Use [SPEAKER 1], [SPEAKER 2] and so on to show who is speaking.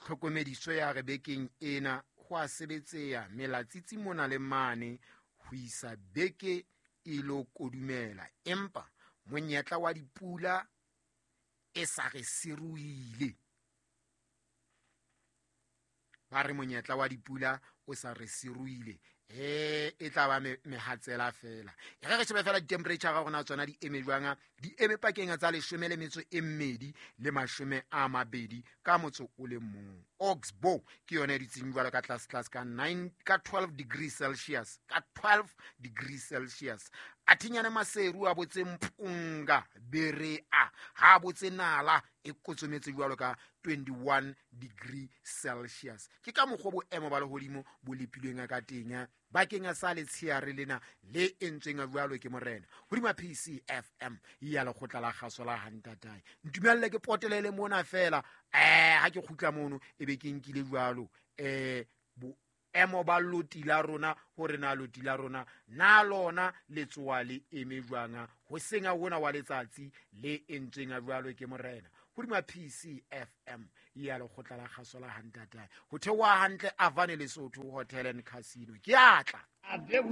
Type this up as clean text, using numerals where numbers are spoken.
[SPEAKER 1] Tlhokomediso ya re bekeng ena ho a sebetseha melatsitsi mona le mane ho isa beke e lo kodumela, empa monyetla wa dipula e sa re siruile. Ba re monyetla wa dipula o sa re siruile, e tla ba mehatsela fela. E re re shebe fela di-temperature ga rona tsona di eme jwang, di eme pakeng tsa 12 le 20 ka motso o le mong. Oxbow ke yone e dutseng jwalo ka tlase tlase ka 9, ka 12 degrees Celsius, ka 12 degrees Celsius. Athinyane Maseru a botse Mpunga Berea, ha botse Nala e kotsometse jwalo ka 21 degree Celsius. Ke ka mokgwa boemo ba lehodimo bo lepilweng ka teng bakeng sa letsheare lena le entsweng jwalo ke morena hodima PCFM ya lekgotla la kgaso la Hantatae. Ntumelle ke potelele mona fela, ha ke kgutla mono e be ke nkile jwalo boemo ba loti la rona, hore na loti la rona na lona le tsoa le eme jwang hoseng a hona wa letsatsi le entsweng jwalo ke morena hodima PCFM ya lekgotla la kgaso la Hantatae. Ho theoha hantle Avane Lesotho Hotel and Casino. Ke atla.